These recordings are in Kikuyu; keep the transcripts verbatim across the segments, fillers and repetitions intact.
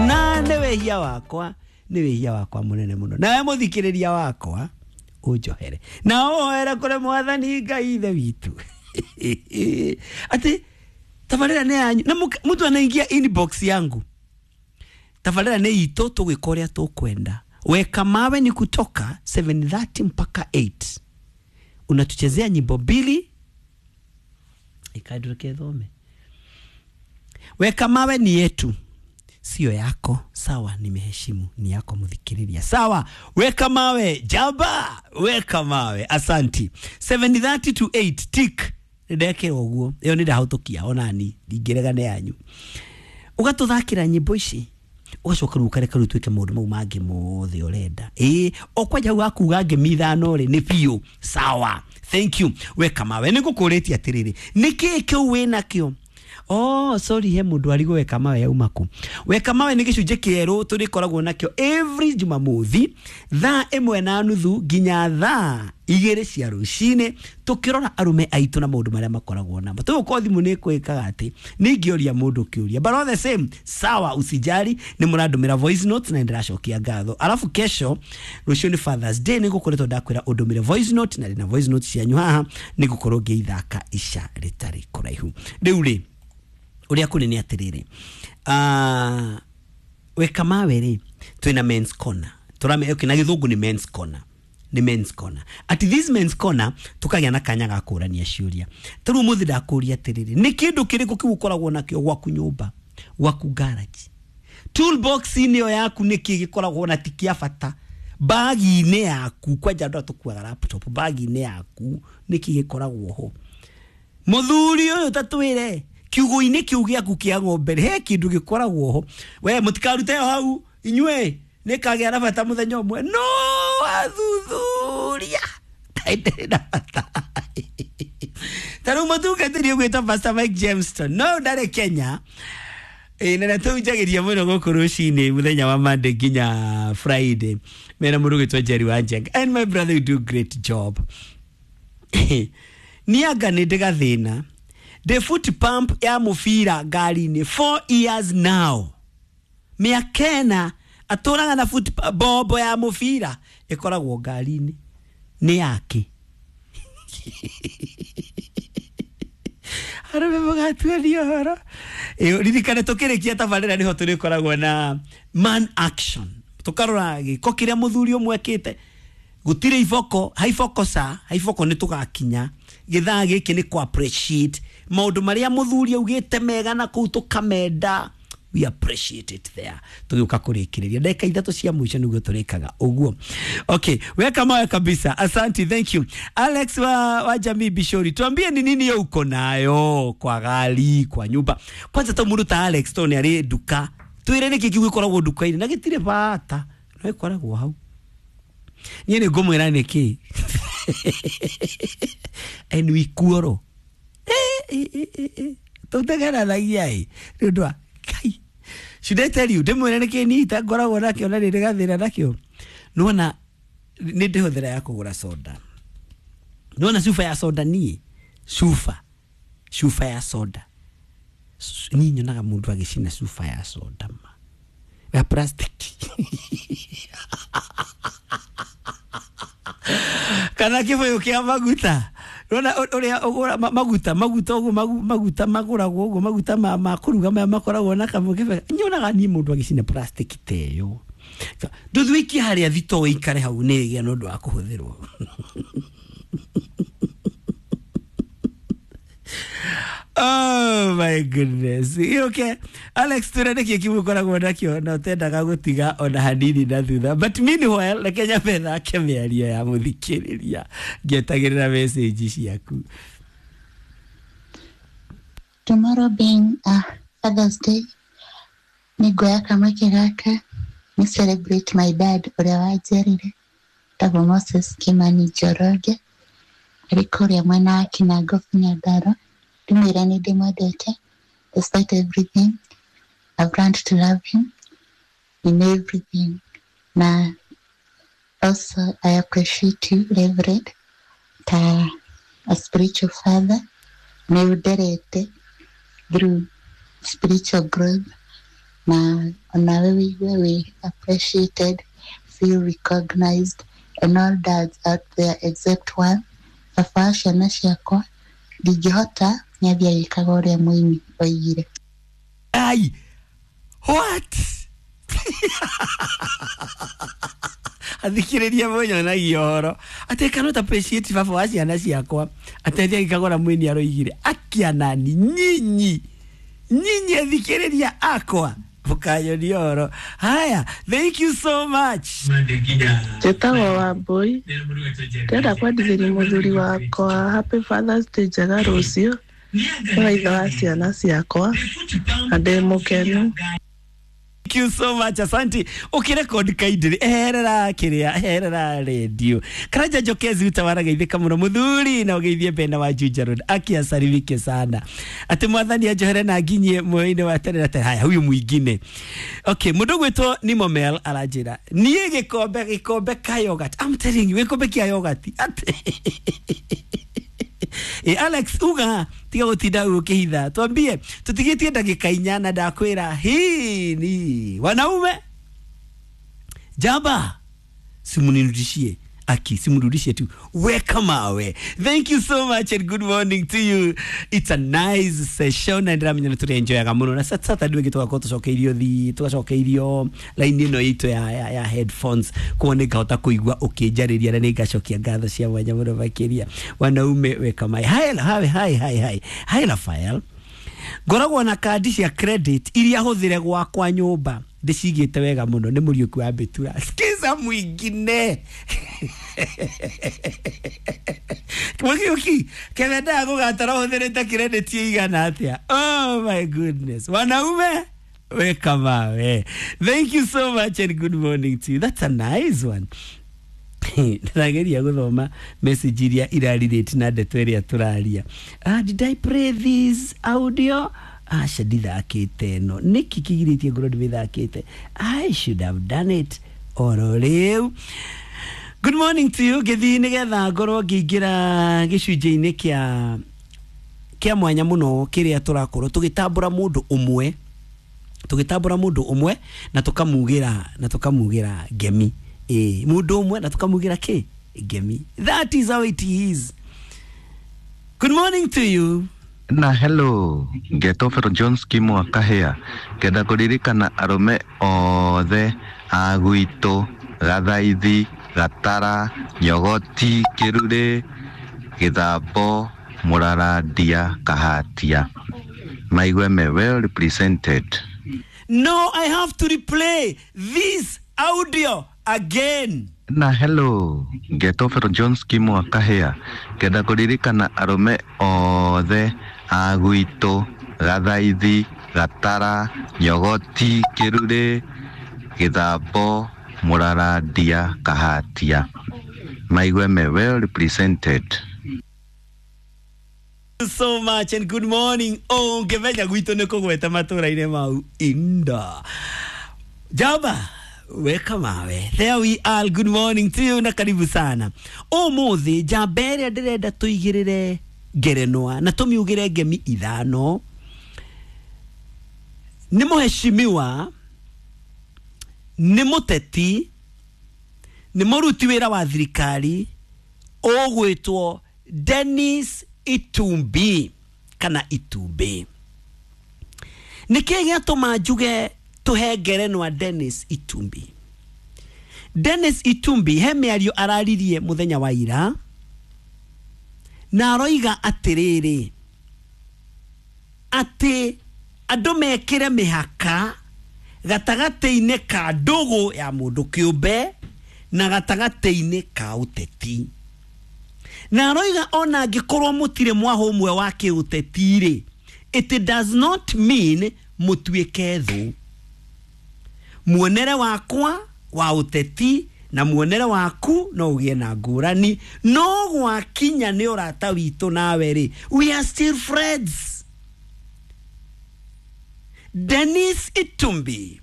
Na nĩ wĩhia wakwa, nĩ wĩhia wakwa mũnene mũno. Nawe mũthikĩrĩria wakwa ũnjohere na ũhoere kũrĩ mwathani Ngai ithe witũ atĩ tabarĩra nĩ yanyu. Na mtu anaingia inbox yangu, tabarĩra nĩ itũ, tũgwĩka ũrĩa tũkwenda. Weka mawe ni kutoka seven thirty mpaka eight, unatuchezea nyimbo mbili ikaduruke thome. Weka mawe ni yetu, sio yako. Sawa, nimeheshimu, ni yako muthikiriria. Sawa, weka mawe jaba, weka mawe, asanti. seven thirty to eight tick ndekera uguo iyo ni ndahutukia onani ndingirega ne yanyu. Ugatuthakira nyimbo ici ugacoka riu ukareka riu twike maundu mau mangi mothe urenda. Ii okwanja hau akuga ngemi ithano ri ni biũ. Sawa, thank you. Weka mawe ni ngukuritie atiriri, niki kiu winakio? Oh, sorry, he mundu arigwo weka mawe yauma ku. Weka mawe ni gicunjĩ kĩerũ tũrĩkoragwo nakĩo every Jumamothi thaa ĩmwe na nuthu nginya thaa igĩrĩ cia rũcinĩ, tũkĩrora arũme aitũ na maũndũ marĩa makoragwo namo. Tũgũkorwo thimũ nĩ ĩkwĩkaga atĩ nĩingĩũria mũndũ kĩũria, but all the same, sawa, usijali, nĩ mũrandũmĩra voice notes na nĩndĩracokia ngatho. Alafu kesho rũciũ nĩ Father's Day, nĩngũkoretwo ndakwĩra ũndũmĩre voice note na ndĩna voice note cianyu haha, nĩngũkorwo ngĩithaka ica rĩtarĩ kũraihu. Rĩu rĩ uria kuri ni atiriri, uh, weka mawe ri twina men's corner, turame okay, na githungu ni men's corner, ni men's corner. At this men's corner tukagia na kanya ga kurania ciuria. Turu muthi ndakuria atiriri, ni kindu kiriku kiu ukoragwo nakio gwaku nyumba, gwaku garage, toolbox ini yo yaku niki gikoragwo na tikia bata, bagi-inĩ yaku, kwanja andu atukuaga laptop, bagi-inĩ yaku niki gikoragwo ho. Muthuri uyu tatwire kiugo-inĩ kiu gĩaku kĩa ng'ombe he kĩndũ gĩkoragwo ho. We mũtikarute hau inyuĩ, nĩkagĩa na bata mũthenya ũmwe. No athuthuria ndĩrĩ na bata. Ta rĩu mũtungatĩri ũgwĩtwo Pastor Mike Jameston no ndarĩ Kenya, ĩ na tũhunjagĩria mũno gũkũ rũcinĩ mũthenya wa Monday nginya Friday mena mũndũ ũgwĩtwo Jerry Wanjenga, and my brother, you do great job. Nianga nĩ ndĩ gathĩna, the foot pump ya mufira ngari-inĩ four years now, mĩaka ĩna atũraga na foot bombo ya mufira ĩkoragwo ngari-inĩ nĩ yake. Arũme mũgatuania ũhoro. Ririkane tũkĩrĩkia tabarĩra nĩho tũrĩkoragwo na man action, tũkarora gĩko kĩrĩa mũthuri ũmwe ekĩte. Gũtirĩ iboko, haiboko sa haiboko nĩ tũgakinya gĩthaa gĩkĩ nĩ kũ appreciate maũndũ marĩa mũthuri augĩte mega na kũu tũkamenda, we appreciate it there. Tũgĩũka kũrĩkĩrĩria ndagĩka ithatũ cia mũico nĩguo tũrĩkaga ũguo. Okay, weka mawe kabisa, asante, thank you. Alex wa, wa Jamii Bishori, tuambie ni nini yo uko nayo kwa gari, kwa nyumba. Kwanza to mũndũ ta Alex to nĩ arĩ nduka, twĩre nĩkĩ kĩu gĩkoragwo nduka-inĩ na gĩtirĩ bata, no ĩkoragwo hau. Niĩ nĩ ngũmwĩra nĩkĩ and we kuoro tũtegeranagia ĩ nĩ ũndũ wa Ngai. Should I tell you ndĩmwĩre nĩkĩ niĩ itangoragwo nakĩo na nĩ ndĩ gathĩna nakĩo? Nĩwona nĩ ndĩhũthĩra ya kũgũra soda, nĩwona cuba ya soda, niĩ cuba cuba ya soda niĩ nyonaga mũndũ agĩcina cuba ya soda ma ya plastic kana kĩbũyũ kĩa maguta. Rona ũrĩa ũgũra maguta maguta ũguo maguta magũragwo ũguo maguta ma ma kũruga maya makoragwo na kamũkebe, nyonaga niĩ mũndũ agĩcina plastic ta ĩyo. Ndũthiĩ harĩa thitoo ĩikare hau nĩ ĩgĩa na ũndũ wa kũhũthĩrwo. Oh my goodness. Okay, Alex twĩre nĩkĩ kĩu ũkoragwo nakĩo na ũtendaga gũtiga ona hanini na thutha. But meanwhile, reke nyambe thake mĩario ya mũthikĩrĩria ngĩetagĩrĩra message ciaku. Tomorrow being uh, Father's Day, nĩnguoya kamweke gaka ni celebrate my dad ũrĩa wanjiarire, etagwo Moses Kimani Njoroge, arĩ kũrĩa mwena wa Kinango Nyandarua. Ndĩmwĩra nĩ ndĩmwendete despite everything. I've learned to love him in everything. Na also I appreciate you, Reverend, ta a spiritual father. Nĩ ũnderete through spiritual growth. Na onawe wĩigue wĩ appreciated, feel recognized, and all dads out there except one, baba wa ciana ciakwa, ndingĩhota, nĩathiĩ agĩkaga ũrĩa mũini oigire. Ai, what? Athikĩrĩria mũnyonagia ũhoro atĩ cannot appreciate baba wa ciana ciakwa atĩ agĩkagũra mwini aroigire akianani nyinyi nyinyi athikĩrĩria akwa mũkanyonia ũhoro. Haya, thank you so much. Njĩtagwo Wambũi, ndĩrenda kwendithĩria mũthuri wakwa Happy Father's Day njega rũciũ, nĩwe ithe wa ciana ciakwa na ndĩ mũkenu. Thank you so much, asante. Ukirekodi kaindiri eherera kiria eherera radio Karanja Njokezi utawara geithika muno muthuri na ugeithie Bena wa Juja Road akiasalimike sana ati mwathani anjohere na nginyie moyo-inĩ wa tene na tene. Haya, huyu mwingine okay, mundu gwitwo ni Momel aranjira nie gikombe gikombe ka yogurt. I'm telling you, gikombe kia yogurt ati E Alex uga tiga gutinda ukihitha twambie tutigitie ndagika inya na ndakwira hii ni wanaume jaba simunirudishie aki simurudishie tu weka mawe. Thank you so much and good morning to you. It's a nice session and ramenya nĩ tũrĩ enjoyaga mũno na Saturday wiki tũgakorwo tũcokeirio thi tũgacokeirio line ĩno itũ ya, ya, ya headphones kuo nĩ ngahota kũigua ũkĩnjarĩria na nĩ ngacokia ngatho cia mwanya mũno makĩria. Wanaume weka mawe. Hi hi hi hi hi hi Rafael, ngoragwo na kandi cia credit iria hũthĩre gwakwa nyũmba ndĩcigĩte wega mũno nĩ Mũriũki wa Mbĩtura. Sikiza mwingine Mũriũki kevendaga gũgatara ũhũthĩrĩte credit igana atĩa? Oh my goodness, wanaume weka mawe. Thank you so much and good morning to you. That's a nice one. Ndĩrageria gũthoma message iria irarelate na ndeto ĩrĩa tũraria. Ah, did I play this audio? Aca ndithakĩte ĩno nĩkĩ kĩgirĩtie ngorwo ndĩmĩthakĩte? I should have done it oro rĩu. Good morning to you. Ngĩthiĩ nĩgetha ngorwo ngĩingĩra gĩcunjĩ-inĩ kĩa kĩa mwanya mũno kĩrĩa tũrakorwo tũgĩtambũra mũndũ ũmwe tũgĩtambũra mũndũ ũmwe na tũkamugĩra na tũkamugĩra ngemi ĩ mũndũ ũmwe na tũkamugĩra kĩ ngemi. That is how it is. Good morning to you. Na hello, ngetwo Fero Jones Kimo wa Kahĩa, ngenda kũririkana arũme othe a gwitũ Gathaithi, Gatara, Nyogoti, Kĩrurĩ, Gĩthambo, Mũrarandia, Kahatia maigue me well represented. No, I have to replay this audio again. Na hello, ngetwo Fero Jones Kimo wa Kahĩa, ngenda kũririkana arũme othe a gwitũ Gathaithi, Gatara, Nyogoti, Kĩrurĩ, Gĩthambo, Mũrarandia, Kahatia maigue me well represented. So much and good morning. Oh, ngĩmenya gwitũ nĩ kũgweta matũra-inĩ mau inda jaba weka mawe. There we are. Good morning to you na karibu sana. Ũmũthĩ njamba ĩrĩa ndĩrenda tũigĩrĩre ngerenwa na tũmiugĩre ngemi ithano nĩ mũheshimiwa, nĩ mũteti, nĩ mũruti wĩra wa thirikari ũgwĩtwo Dennis Itumbi kana Itumbi. Nĩkĩ gĩatũma njuge tũhe ngerenwa Dennis Itumbi? Dennis Itumbi he mĩario araririe mũthenya wa ira na aroiga atĩrĩrĩ atĩ andũ mekĩre mĩhaka gatagatĩ-inĩ ka ndũgũ ya mũndũ kĩũmbe na gatagatĩ-inĩ ka ũteti. Na aroiga ona angĩkorwo mũtirĩ mwaho ũmwe wa kĩũteti rĩ, it does not mean mũtuĩke thũ. Muonere wakwa wa ũteti na muonere waku no ũgĩe na ngũrani, no gwakinya nĩ ũrata witũ nawe rĩ, we are still friends. Dennis Itumbi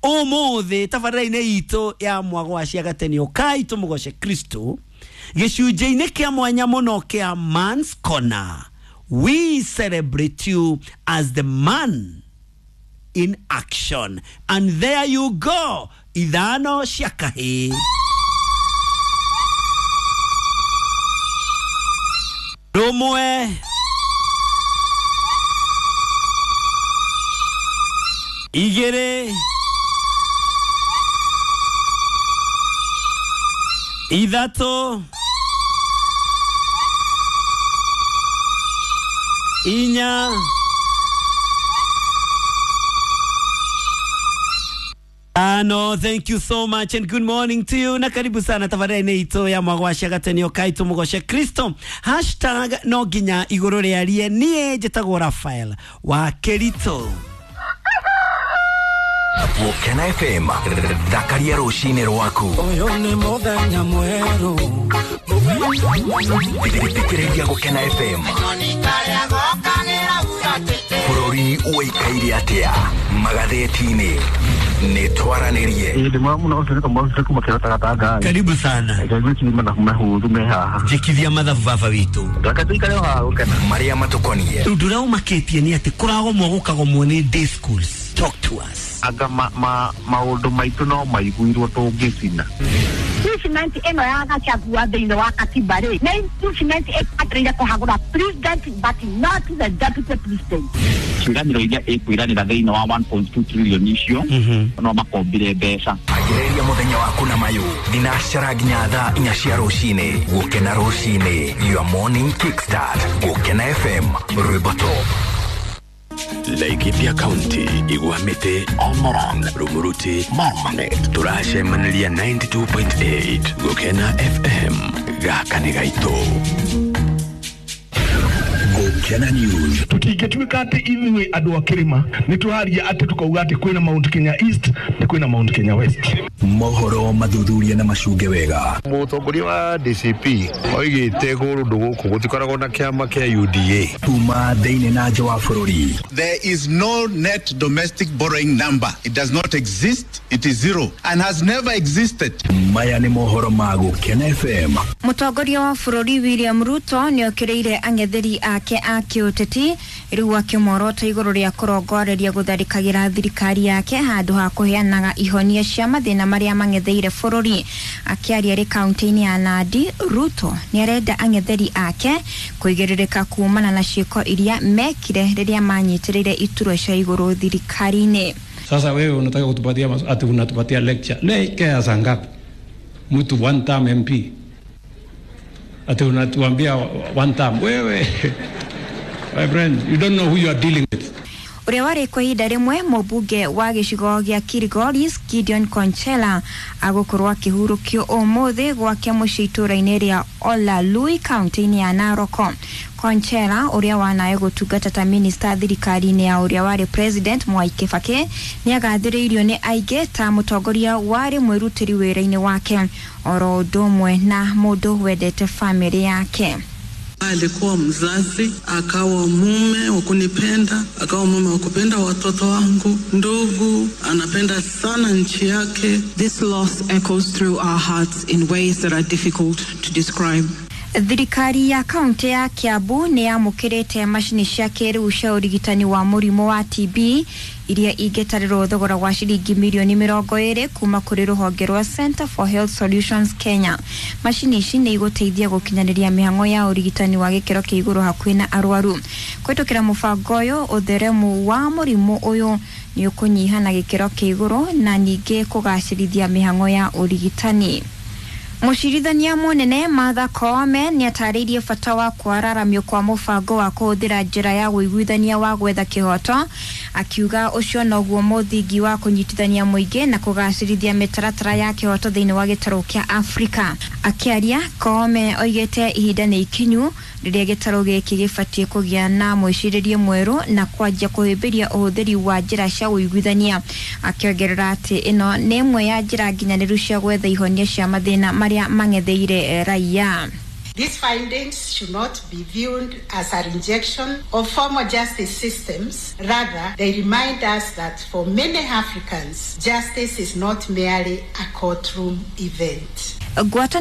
ũmũthĩ tabarĩra-inĩ itũ ya mwago wa ciagateni ũkai tũmũgoce Kristo gĩcunjĩ-inĩ kĩa mwanya mũno kĩa Man's Corner, we celebrate you as the man in action. And there you go, ithano cia kahĩĩ. Rũmwe, igĩrĩ, ithatũ, inya, Ano, thank you so much and good morning to you, na karibu sana tafadhali ito ya mwagwasha gatenio kaito mugoshe Kristo hashtag no nginya iguru riarie. Nie njĩtagwo Rafael wa Kerito. Gũkena F M, thakaria rũcinĩ rwaku. Ũyũ nĩ mũthenya mwerũ. Thikĩrĩria Gũkena F M. Bũrũri ũikaire atĩa magathĩti-inĩ? Nĩ twaranĩrie. Ĩĩ, ndĩ mũno ũcio nĩ kamwe kuma kĩrota gatanga. Karibu sana. Ngwĩciria mathabu mahũthũ me haha. Njĩkithia mathabu baba witũ. Reke tũikare o haha gũkena. Marĩa matũkoniĩ. Ũndũ ũrĩa ũmakĩtie nĩ atĩ kũragomwo gũkagomwo nĩ day schools. Talk to us. Anga ma, ma, maũndũ maitũ no maiguirwo tũngĩcina. Impeachment ĩno ya Gachagua thĩinĩ wa katiba rĩ, nĩ impeachment ĩbataire kũhagũra president but not the deputy president. Ciĩranĩro iria ĩkwĩranĩra thĩinĩ wa one point two trillion icio no makombire mbeca. Agĩrĩria mũthenya waku na mayũ thinacara nginya thaa inya cia rũcinĩ. Gũkena rũcinĩ, your morning kickstart. Gũkena F M, rwĩmbo top. Laikipia County, Igwamite, Omorong, Rumuruti, Marmanet. Turacemaniria ninety-two point eight Gukena F M. Gaka nĩ gaitũ. Gũkena News. Tũtingĩtuĩka atĩ ithuĩ andũ a kĩrĩma nĩ tũraria atĩ tũkauga atĩ kwĩna Mount Kenya East na kwĩna Mount Kenya West. Mohoro mathuthuria na macunge wega. Mũtongoria wa D C P oigĩte kũndũ gũkũ gũtikoragwo na kĩama kĩa U D A. Kuma thĩinĩ na nja wa bũrũri. There is no net domestic borrowing number. It does not exist. It is zero and has never existed. Maya nĩ mohoro ma Gũkena F M. Mũtongoria wa bũrũri William Ruto nĩ okĩrĩire ang'etheri ake a kĩũteti, rĩu akĩmorota igũrũ rĩa kũrongoreria gũtharĩkagĩra thirikari yake handũ ha kũheanaga ihonia cia mathĩna marĩa mang'etheire bũrũri. Akĩaria rĩ kaunti-inĩ ya Nandi, Ruto nĩ arenda ang'etheri ake kũigĩrĩrĩka kumana na ciĩko iria mekire rĩrĩa manyitĩrĩire iturwa cia igũrũ thirikari-inĩ. Sasa wewe unataka kutupatia ati unatupatia lecture. Lecture ya saa ngapi? Mtu one term M P. Ati unatuambia one term. Wewe, my friend, you don't know who you are dealing with. Ũrĩa warĩ kwa ihinda rĩmwe mũmbunge wa gĩcigo gĩa Kilgoris Gideon Konchela agũkorwo akĩhurũkio ũmũthĩ gwake mũciĩ itũũra-inĩ rĩa Olalui kaunti-inĩ ya Narok. Konchela, ũrĩa wanae gũtungata ta minista thirikari-inĩ ya ũrĩa warĩ president Mwai Kibaki, nĩ agathĩrĩirio nĩ aingĩ ta mũtongoria warĩ mwĩrutĩri wĩra-inĩ wake, oro ũndũ ũmwe na mũndũ wendete famĩlĩ yake. Alikuwa mzazi, akawa mume wa kunipenda, akawa mume wa kupenda watoto wangu, ndugu, anapenda sana nchi yake. This loss echoes through our hearts in ways that are difficult to describe. Thirikari ya kaunti ya Kiambu nĩ yamũkĩrĩte macini cia kĩrĩu cia ũrigitani wa mũrimũ wa T B iria ingĩtarĩrwo thogora wa ciringi mirioni mĩrongo ĩrĩ kuma kũrĩ rũhonge rwa Center for Health Solutions Kenya. Macini ici nĩ igũteithia gũkinyanĩria mĩhang'o ya ũrigitani wa gĩkĩro kĩa igũrũ hakuhĩ na arwaru. Kũhĩtũkĩra mũbango ũyũ, ũtheremu wa mũrimũ ũyũ nĩ ũkũnyiha na gĩkĩro kĩa igũrũ na ningĩ kũgacĩrithia mĩhang'o ya ũrigitani. Mũcirithania mũnene Martha Koome nĩ atarĩirie bata wa kwararamio kwa mũbango wa kũhũthĩra njĩra ya ũiguithania wa gwetha kĩhoto, akiuga ũcio noguo mũthingi wa kũnyitithania mũingĩ na kũgacĩrithia mĩtaratara ya kĩhoto thĩinĩ wa gĩtarũ kĩa Afrika. Akĩaria, Koome oigĩte ihinda nĩ ikinyu rĩrĩa gĩtarũ gĩkĩ gĩbatiĩ kũgĩa na mwĩcirĩrie mwerũ na kwanjia kũhĩmbĩria ũhũthĩri wa njĩra cia ũiguithania, akĩongerera atĩ ĩno nĩ ĩmwe ya njĩra nginyanĩru cia gwetha ihonia cia mathĩna marĩa mang'etheire raia. These findings should not be viewed as a rejection of formal justice systems. Rather, they remind us that for many Africans, justice is not merely a courtroom event. Ngwatanĩro